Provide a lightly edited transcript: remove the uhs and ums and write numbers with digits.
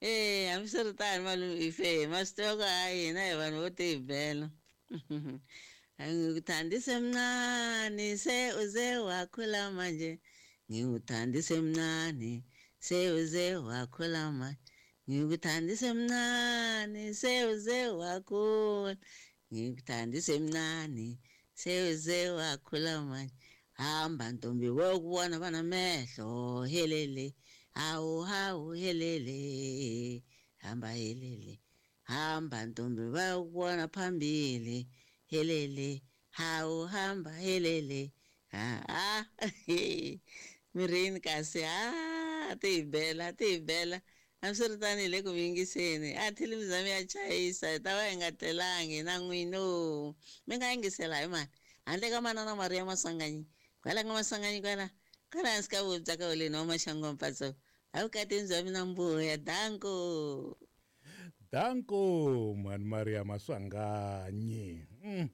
E hambiswiritano malume ife ma swi tiva ku hayi hina hi vanhu vo tibela. Ngikuthandise mncane se uze wakhula manje. Ngikuthandise mncane se uze wakhula manje. Ngikuthandise mncane se uze wakhula. Ngikuthandise mncane se uze wakhula manje. Hamba ntombi wokubona banamehlo helele. Hawu hawu helele. Hamba helele. Hamba ntombi bayokubona phambili. Helele. Hawu hamba helele. Ha ha. Mirini kasi ha ti hi bela ti hi bela. Hambiswiritano hi le ku mi yingiseni. A thilimi za mi ya chayisa hi ta va hi nga tlelangi na n'wino. Mi nga yingisela hi mani? Handle ka manana Maria Maswanganyi. Kwala ka Maswanganyi kwala. Kwala hansi ka vubi bya ka Holeni wa Maxangu Mpatso. A vukatini bya mina mbuya. Danko. Danko mhani Maria Maswanganyi. Mm.